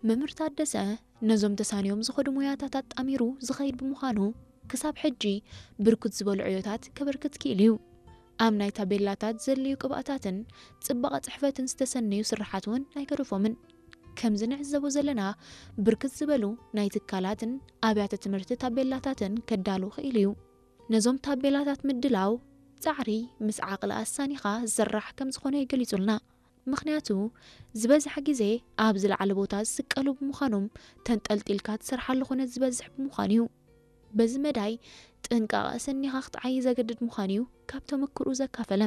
መምህር ታደሰ ነዞም ተሳንዮም ዝኸዱ ሞያታት ኣጣሚሩ ዝኸይድ ብምዃኑ ክሳብ ሕጂ ብርክት ዝበሉ ዕዮታት ከበርክት ክኢሉ እዩ። ኣብ ናይ ታቤላታት ዘድልዩ ቅብኣታትን ጽባቐ ጽሕፈትን ዝተሰነዩ ስርሓት እውን ኣይገደፎምን። ከምዚ ንዕዘቦ ዘለና ብርክት ዝበሉ ናይ ትካላትን ኣብያተ ትምህርቲ ታቤላታትን ከዳሉ ክኢሉ እዩ። ነዞም ታቤላታት ምድላው ጻዕሪ ምስ ዓቕሊ ኣሳኒኻ ዝስራሕ ከም ዝኾነ ይገሊጹልና። ምኽንያቱ ዝበዝሐ ግዜ ኣብ ዝለዓለ ቦታ ዝስቀሉ ብምዃኖም ተንጠልጢልካ ትሰርሓሉ ኩነት ዝበዝሕ ብምዃኑ እዩ። በዚ መዳይ ጥንቃቐ ኣሰኒኻ ክትዓይ ዘገድድ ምዃኑ እዩ ካብ ተመክርኡ ዘካፈለ።